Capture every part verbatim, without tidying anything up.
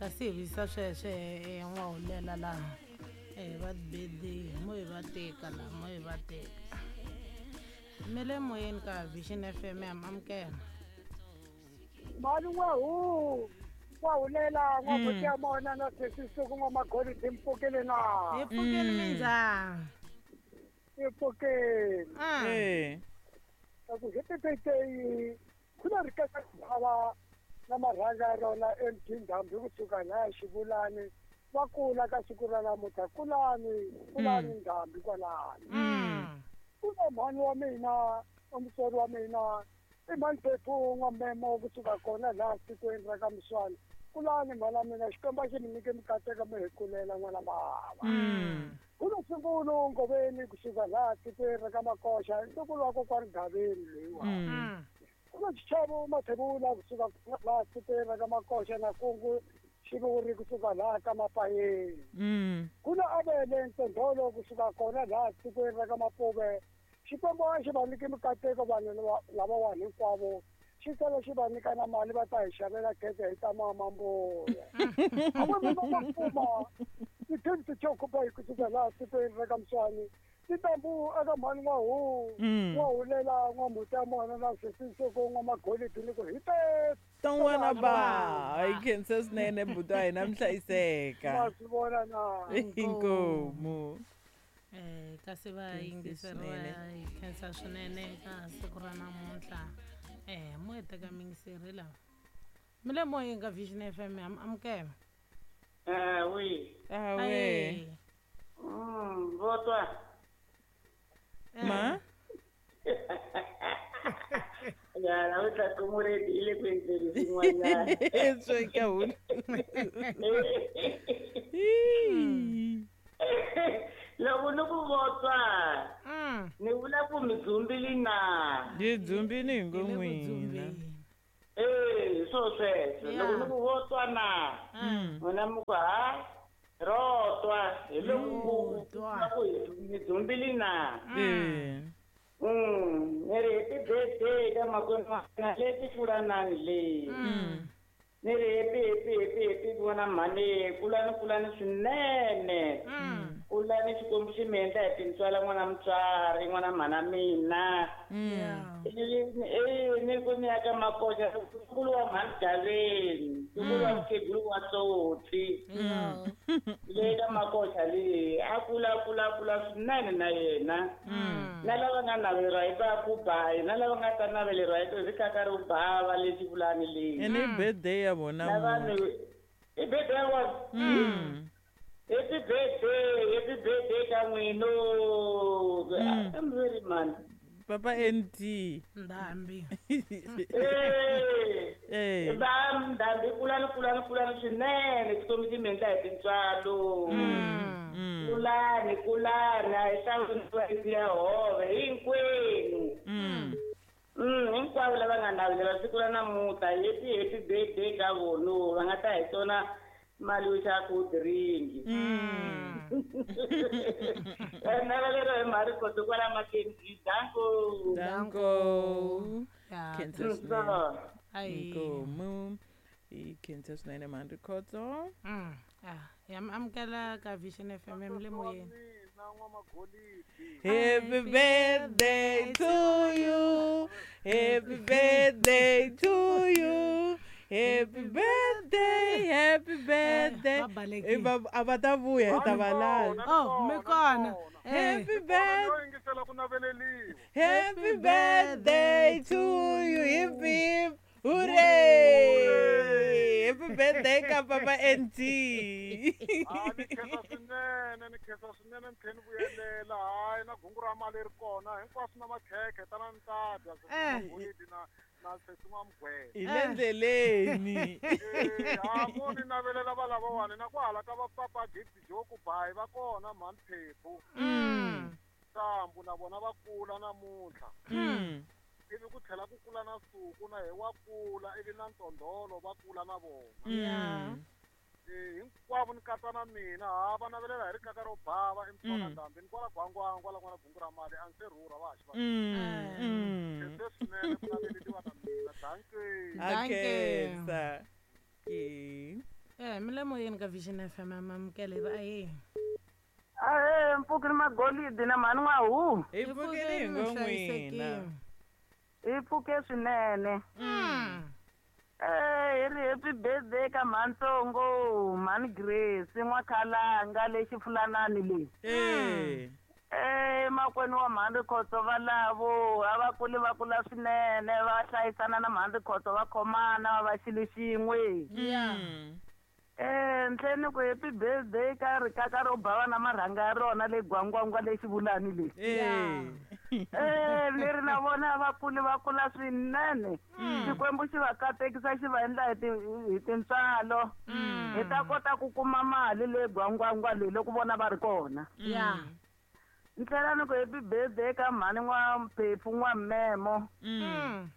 kasi hi visa sweswe eh n'wahulela laha eh va birthday mo hi va teka laha mo hi va teka mi le moyeni ka Vision F M ya amukela mali n'wahu n'wahulela n'wabuti ya mona na sesisuku n'wamagolidi mpfukile na hi pfukile minjhani hi pfukile eh ku happy birthday ku na rikaka bava na marhanga ya rona M T Ndhambi kusuka laha Xivulani va kula ka siku ra namuntlha kulani kulani Ndhambi kwalani ku na mhani wa mina mutswari wa mina i mhani Phephu n'wamemo kusuka kona laha tikweni ra ka Muswana kulani mhana mina Xikwembu a xi mi nyike mikateko mi hi kulela n'wana bava ku na Sungulu Ngoveni kusuka laha tikweni ra ka Makoxa ntukulu wa kokwani Gaveni loyiwa ku na Xichavo Mathebula kusuka laha tikweni ra ka Makoxa na Kungu Xivuri kusuka laha ka Mapayeni ku na Avele Ntondolo kusuka kona laha tikweni ra ka Mapuve Xikwembu a xi va nyike mikateko vanhu lavawani hinkwavo xi tlhela xi va nyika na mali va ta hi xavela khekhe hi ta mama mbuya a va va kuma ti-team ti kusuka laha tikweni ra ka Muswani titambu eka mhani n'wahu n'wahulela n'wamuti ya mona na sesisoko n'wamagolidi ni ku hi te ton'wana ba hi khensa swinene buti wa hina mi hlayiseka ma swi vona na inkomu eh kasi va yingiseriwa hi khensa swinene ka siku ra namuntlha eh mo hi teka mingiseri lava mi le moyeni ka Vision F M amukela eh oui ah oui mm votwa ma ya la uta kumureti ile kwenzeni swin'wanyana sweka hulu loko ni ku votwa ni vula ku mi dzumbili na ni dzumbini hi ngo n'wina eh swo sweswo loko ni ku votwa na n'wina mi ku ha rotwa hi loko ku mi dzumbili na eh mm ni ri happy birthday ka makwenu wa mina leti fulanani leyi ni ri happy happy happy happy vona mhani kulani kulani swinene kulani Xikwembu xi mi endla hi tintswala n'wana mutswari n'wana mhana mina eh ni ku ni ya ka Makoxa nkulu wa mhani Gaveni nkulu wa mukhegulu wa Tsotsi le ka Makoxa leyi a kula kula kula swinene na yena na lava nga naveleriwa hi va ku bayi na lava nga ta naveleriwa hi rikaka ro bava le Xivulani leyi ene i birthday ya vona na vanhu i birthday ya vona happy birthday happy birthday ka n'wino I'm very man Papa N T Ndhambi eh eh ba Ndhambi kulani kulani kulani swinene Xikwembu xi mi endla hi tintswalo kulani kulani a hi hlawuriwa ya hove hinkwenu mm hinkwavo lava nga navelela siku ra namuntlha happy happy birthday ka vona va nga ta hi tona mali yo xava cold drink naveleriwa hi mhari koto kwala Mackenzie danko danko khensa swinene inkomu hi khensa swinene mhani Rikhotso ah ya amukela ka Vision F M mi le moyeni Happy birthday to you happy birthday to you happy birthday happy birthday a va ta vuya hi ta valala oh mi kona happy birthday happy birthday to you hip hip hooray happy birthday ka Papa N T ah ni khensa swinene ni khensa swinene ni tlhela ni vuyelela hayi na gungu ra mali ri kona hinkwaswo na makhekhe tana ni ta dya swigolidi na na sesi n'wamugwena hi le ndleleni ha mo ni navelela va lavawani na ku hala ka va Papa Gift Joku bayi va kona mhani Phephu Ntambu na vona va kula namuntlha ivi ku tlhela ku kula na Suku na hi wa kula ivi na Ntondolo va kula na vona eh hinkwavo ni katsa na mina ha va navelela hi rikaka ro bava emtswana Ndhambi ni kwala Gwangwangwa la n'wana gungu ra mali a ni se rhurha va ha xi va khense swinene ku naveleliwa na mina danke a khensa ke eh Ya mi le moyeni ka Vision F M amamukele va aye. Ahe mpfukini magolidi na mhani n'wahu. Hi pfukile hi ngo n'wina. Hi pfuke swinene. Mm. Eh hi ri happy birthday ka mhantsongo mhani Grace n'wakhalanga lexi fulanani leyi. Eh. Eh makwenu wa mhani Khotso valavo a va kuli va kula swinene va hlayisana na mhani Khotso va khomana va va xilo xin'we. Ya. Eh ntlheni ku happy birthday ka rikaka ro bava na marhanga ya rona le gwangwangwa le xivulani le. Eh. Eh leri na vona va kuli va kula swinene. Xikwembu xi va katekisa xi va endla hi ti hi tintswalo. Hi ta kota ku kuma mali le gwangwangwa le loko vona va ri kona. Ya. Ntlhela ni ku happy birthday ka mhani n'wa Mphephu n'wa Memo. Mm.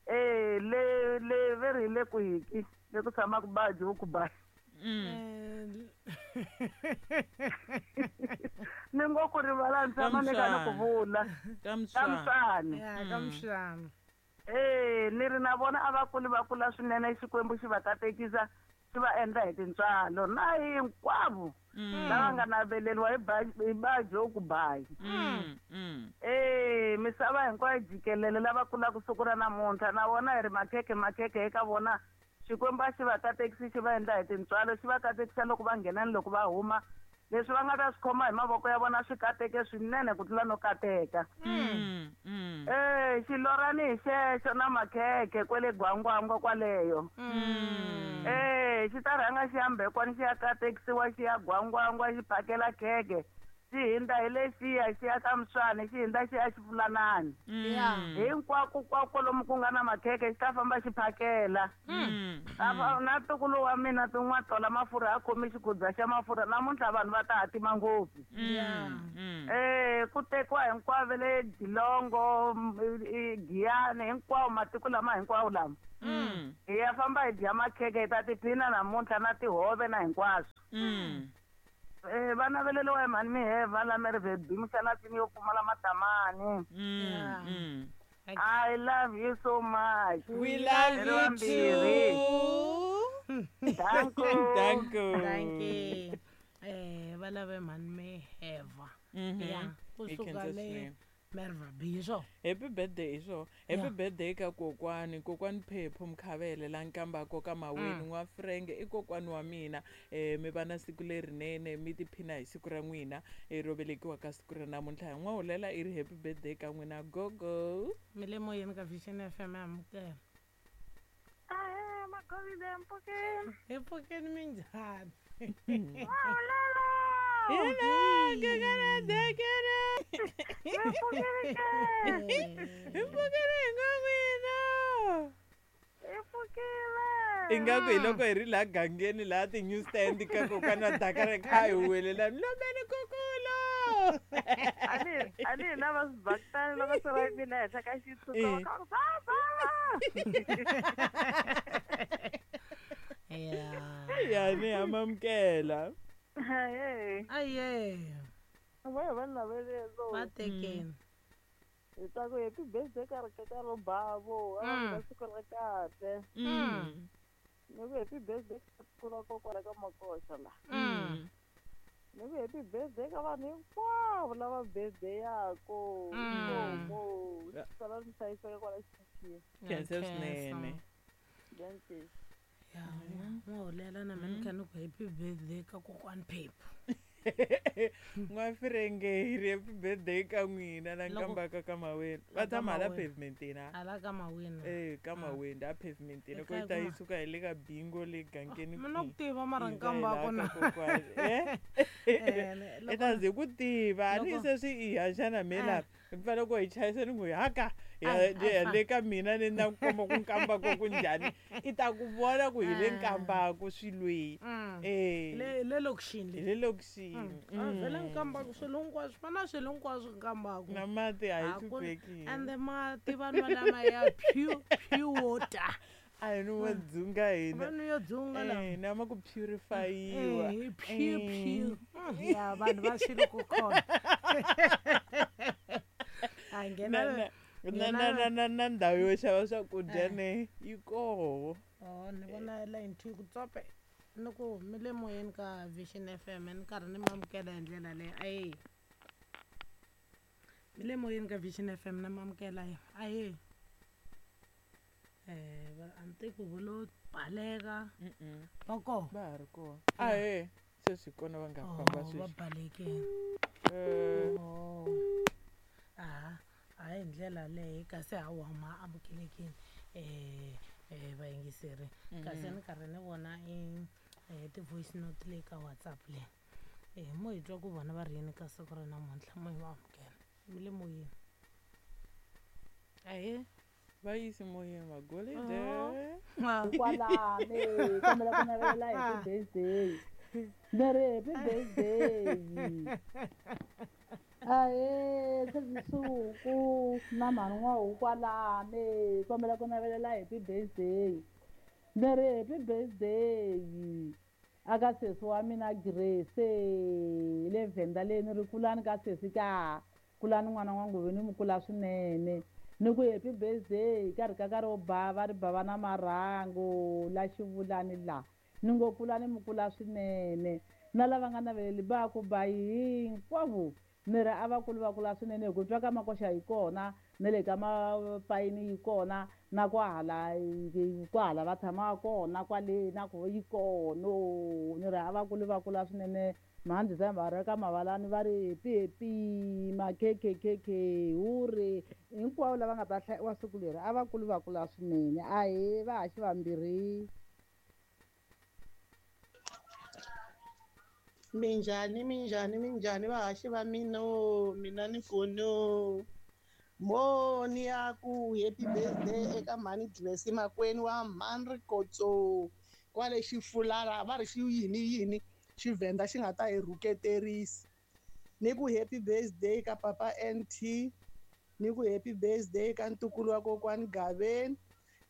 Eh le le ve ri le kwiki le ku tshamaka baji ku ba. Mm. Ni ngo ku rivala ni tshama ni kha ni ku vula. Kamswani. Ya kamswani. Eh ni ri na vona a va kuli va kula swinene Xikwembu xi va katekisa xi va endla hi tintswalo na hinkwavo lava nga naveleriwa hi baji hi baji ku bayi. Eh misava hinkwayo jikelele lava kulaka siku ra namuntlha na vona hi ri makhekhe makhekhe eka vona Xikwembu a xi va katekisi xi va endla hi tintswalo xi va katekisa loko va nghena ni loko va huma leswi va nga ta swi khoma hi mavoko ya vona swi kateke swinene ku tlula no kateka. Eh xilorani hi xexo na makhekhe kwele gwangwangwa kwaleyo. Eh xi ta rhanga xi ya Mbekwani xi ya katekisiwa xi ya gwangwangwa xi phakela khekhe xi hindza hi lexiya xi ya ka Mswani xi hindza xi ya Xifulanani. Ya. Hinkwako kwako lomu ku nga na makhekhe xi ta famba xi phakela. Na ntukulu wa mina tin'wa tola mafurha a khomi xikhudza xa mafurha namuntlha vanhu va ta hatima ngopfu. Ya. Eh ku tekiwa hinkwavo le Dilongo Giyani hinkwawo matiko lama hinkwawo lama. Hi ya famba hi dya makhekhe hi ta tiphina namuntlha na tihove na hinkwaswo. Eh va naveleriwa hi mhani Miheva la Mervebi muxanatini yo pfumala matamani. I love you so much. We love you too. Thank you. Thank you. Thank you. Eh va lave mhani Miheva. Ya kusuka le Mervebi swo. Happy birthday swo. Happy birthday ka kokwani, kokwani Phephu Mkhavele la nkambako ka Maweni n'wa Frenge i kokwani wa mina. Eh mi va na siku lerinene mi tiphina hi siku ra n'wina e ro velekiwa ka siku ra namuntlha. Hi n'wahulela i ri happy birthday ka n'wina gogo. Mi le moyeni ka Vision F M amukela. Ahe magolide mpfukeni. Hi pfukeni minjhani? N'wahulela. Hina kekere dekere. Hi pfukile ke. Hi pfukile hi ngo n'wina. Hi pfukile. Ingaku hi loko hi ri laha gangeni laha ti-newsstand ka kokwana wa Dakar kha hi huwelela lombeni kukulo. A ni a ni hi lava swibakitani loko se va yimile henhla ka xitshutsu va kha va ku baba. Ya. Ya ni amamkela. Hey. Aye. Va va navelelo. Va tekeni. Hi ta ku happy birthday ka rikaka ro bavo a va siku ra kahle. Mm. Ni ku happy birthday ka siku ra kokwana ka Makoxa la. Mm. Ni ku happy birthday ka vanhu hinkwavo lava birthday yako. Inkomu. Sala ni hlayiseka kwala xitichini. Khensa swinene. Dankie. Ya, n'wahulela na mina ni kha ni ku happy birthday ka kokwani Phephu. N'wafirenge hi ri happy birthday ka n'wina la nkambaka ka Maweni. Va tshama hala pavementini ha? Hala ka Maweni. Eh ka Maweni a pavementini ko yi ta yi suka hi le ka bingo le gangeni. Mina ku tiva mara nkambako na. Eh. I ta ze ku tiva a ni se swi i haxa na mina hi fanele ku hi chayisa ni ku haka ya le ka mina ni na ku komba ku nkambako ku njhani i ta ku vona ku hi le nkambako swilweyi. Eh. Le le lokixini le. Le lokixini. A vhele nkambako swilo hinkwaswo va na swilo hinkwaswo nkambako. Na mati a hi hlupheki. And mati vanhu va lama ya pure pure water. A hi no wa dzunga hina. Vanhu yo dzunga la. Eh na ma ku purify-iwa. Eh pure pure. Ya vanhu va swilo ku khona. A nghena na na na na na ndhawu yo xava swakudya ne yi koho. Oh ni vona line two ku tsope. Ni ku mi le moyeni ka Vision F M ni karhi ni mi amukela hi ndlela leyi. Ahee. Mi le moyeni ka Vision F M na mi amukela. Ahee. Eh va a ni tivi ku vo lo baleka. Va kona? Va ha ri kona. Ahee. Sweswi kona va nga famba Oh, va sweswi. balekile. Eh. Oh. Aha, a hi ndlela leyi kasi hawa ma amukelekile eh eh vayingiseri. Kasi ni karhi ni vona i eh ti-voice note leyi ka WhatsApp leyi. Eh mo hi twa ku vona va ri yini ka siku ra namuntlha, mo hi va amukela. Mi le moyeni. Ahee. Va yisi moyeni magolide. Ah. Kwalani, kombela ku navelela happy birthday. Ni ri happy birthday. Ahee, Sesi na mhani N'wahu kwalani, kombela ku navelela happy birthday. Ni ri happy birthday aka sesi wa mina Grace le Venda leyi ni ri kulani ka sesi ka kulani n'wana wa Nguveni mi kula swinene. Ni ku happy birthday ka ri ka ka ro bava ri bava na marhangu la xivulani la. Ni ngo kulani mi kula swinene. Na lava nga naveleli ba ku ba hinkwavo ni ri a va kuli va kula swinene hi ku twa ka makoxa yi kona na le ka mapayini yi kona na kwahala kwahala va tshamaka kona kwale na ku yi kona. Ni ri a va kuli va kula swinene. Mhani December va ri ka mavalani va ri happy happy makhekhekhekhe hure hinkwavo lava nga ta hlayiwa siku leri a va kuli va kula swinene. Ahee, va haxi vambirhi. Minjhani, minjhani, minjhani vahaxi va mina, mina ni kono. Mo ni ya ku happy birthday eka mhani Grace makwenu wa mhani Rikhotso kwale Xifulala va ri xi yini yini Xivhenda xi nga ta hi rhuketerisa. Ni ku happy birthday ka papa N T, ni ku happy birthday ka ntukulu wa kokwani Gaveni,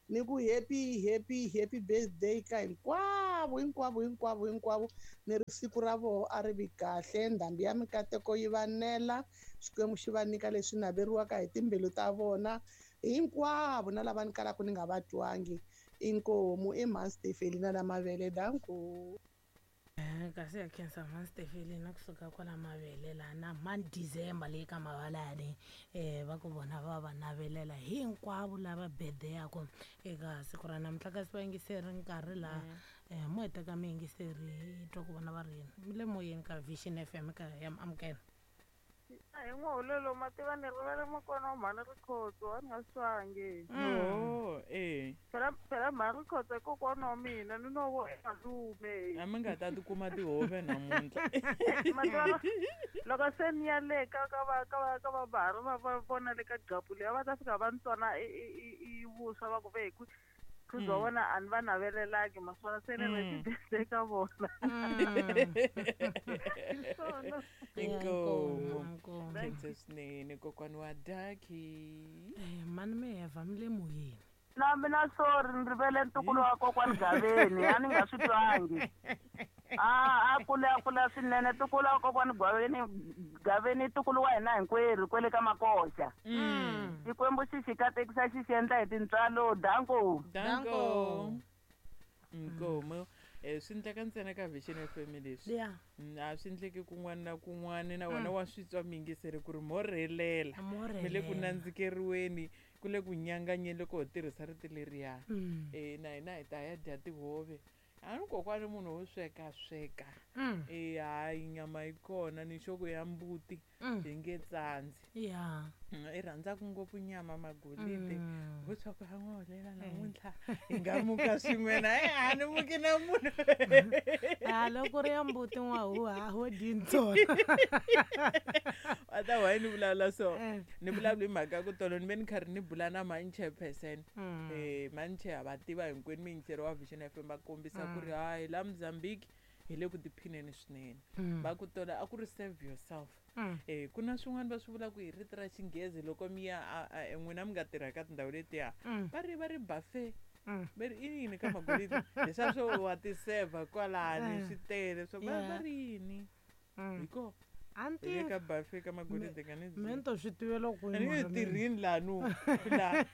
ni ku happy happy happy birthday ka hinkwavo hinkwavo hinkwavo hinkwavo. Ni ri siku ra voho a ri vi kahle, ndhambi ya mikateko yi va nela, Xikwembu xi va nyika leswi naveriwaka hi timbilu ta vona hinkwavo, na lava ni kalaka ni nga va twangi. Inkomu i mhani Stefelina na mavele. Danko. Kasi ya khensa mhani Stefelina kusuka kwala mavele laha na mhani December leyi ka mavalani eh va ku vona va va navelela hinkwavo lava birthday-aku eka siku ra namuntlha. Kasi vayingiseri nkarhi laha eh mo heta ka miyingiseri hi twa ku vona va ri yini. Mi le moyeni ka Vision F M ka ya amukela. A hi n'wahulelo ma tiva ni rivele makwana wa mhani Rikhotso a ni nga swi twangi. Oh, eh. Phela phela mhani Rikhotso i kokwana wa mina ni no vo malume. A mi nga ta tikuma tihove namuntlha. Ma tiva loko se ni ya le ka ka va ka va ka va bahari va va vona le ka gqapu leyi va ta fika va ni tsona i i i vuswa va ku ve hi ku bya vona a ni va navelelangi maswona se ni ri birthday ka vona. Inkomu. Khensa swinene kokwani wa Daki. Eh mani mi heva mi le moyeni. Na mina sorry ni rivele ntukulu wa kokwani Gaveni a ni nga swi twangi. A a kula a kula swinene ntukulu wa kokwani Gaveni Gaveni ntukulu wa hina hinkwerhu kwele ka makoxa. Xikwembu xi xi katekisa xi xi endla hi tintswalo. Danko. Danko. Inkomu. Eh swi endleka ntsena ka Vision F M leswi. Yeah. A swi endleki kun'wana na kun'wana na wena wa swi twa miyingiseri ku ri mo rhelela. Mi le ku nandzikeriweni ku le ku nyanganyeni loko ho tirhisa rito leriya. Eh na hina hi ta ya dya tihove. A ni kokwani munhu wo sweka sweka. Eh hayi nyama yi kona ni xoko ya mbuti hi nge tsandzi. Yeah. I rhandzaka ngopfu nyama magolide. Vo tshwa ku ha n'wahulela namuntlha hi nga muka swin'we na e a ni muki na munhu. A loko ri ya mbuti n'wahu a ho dyi ntsona. A ta why ni vulavula so ni vulavula hi mhaka ku tolo ni ve ni karhi ni bula na mhani chairperson. Eh mhani chair va tiva hinkwenu miyingiseri wa Vision F M va kombisa ku ri hayi la Mozambique hi le ku tiphineni swinene. Va ku tola a ku ri save yourself. Eh ku na swin'wana va swi vulaka hi rito ra xinghezi loko mi ya n'wina mi nga tirha ka tindhawu letiya va ri va ri buffet. Va ri i yini ka magolide leswiya swo wa ti serve kwalani swi tele swo va va ri yini hiko A ni Hi le tivi. ka buffet ka magolide ka ni Me ni to swi tivela a kwihi ni nge mara mina? tirhini laha nu laha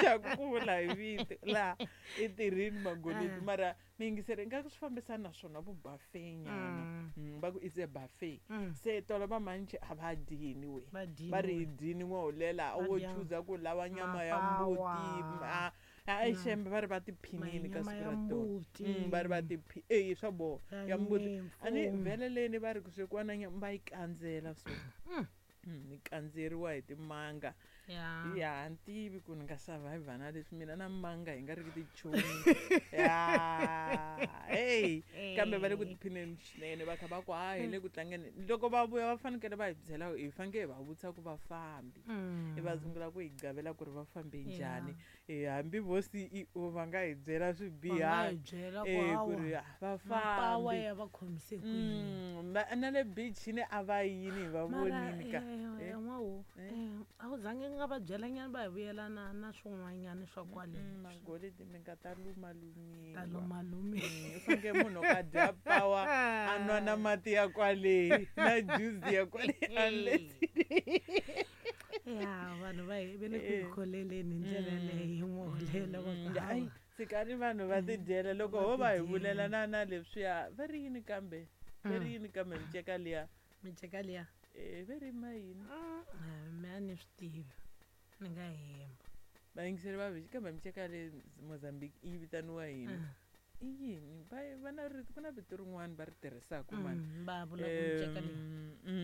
xa ku vula hi vito laha i tirhini magolidi Ah. mara miyingiseri ingaku swi fambisana na swona vu buffet nyana Mm. Mm, va ku it's a buffet Mm. se tolo va manche a va dyini we Va dyini va ri hi we. dyini n'wahulela Va wo dya chuza ku lava nyama ya mbuti mapawa. a a Mm. xembe va ri va tiphinini ka Nyama siku ya ra tolo mbuti. Mm, va ri va tiphi e swa boha Ya ya mbuti a ni nyimpfu. vhele leni va ri ku swekiwa na nyama va yi kandzela so Mm. Mm, ni kandzeriwa hi timanga Ya. ya ni tivi ku ni nga survivor na leswi mina na manga hi nga ri ki tichomi ya hey kambe va le ku tiphineni swinene va kha va ku ha hi le ku tlangeni loko va vuya va fanekele va hi byela hi fanekele hi va vutisa ku va fambi Mm. i va sungula ku hi gavela ku ri va fambe Ya. njhani Eh, hambi vo C E O va nga hi byela Va nga swibiha hi byela ku eh, ku hawa, ri ah, va mapawa fambi ya va khomise ku yini. Mm, va- na le beachini a va yini hi va Mara vonini ka eh, Eh, n'wahu eh. eh, a wu zangi nga va byela nyana va hi vuyela na na swin'wanyana swa kwale Mm, magolidi mi nga ta lumalumiwa ta lumalumi. Mm, u fanekele munhu ka dya pawa a nwa na mati ya kwale na juice ya kwale unless Ya vanhu va hi ve le ku hi Eh. kholeleni hi ndlela leyi n'wahulela va ku Mm, hayi hawa. tshikani vanhu va tidyela loko Va ho va hi tidyela. vulela na na leswiya va ri yini kambe va ri Mm. yini kambe miceka liya Miceka liya Eh, va ri ma yini Ah, me a ni swi tivi ni nga hemba. vayingiseri va vexi kambe miceka le Mozambique yi vitaniwa yini Mm. i yini va va na rito ku na vito rin'wana va ri tirhisaka mani Mm, va vula ku miceka leyi Mm,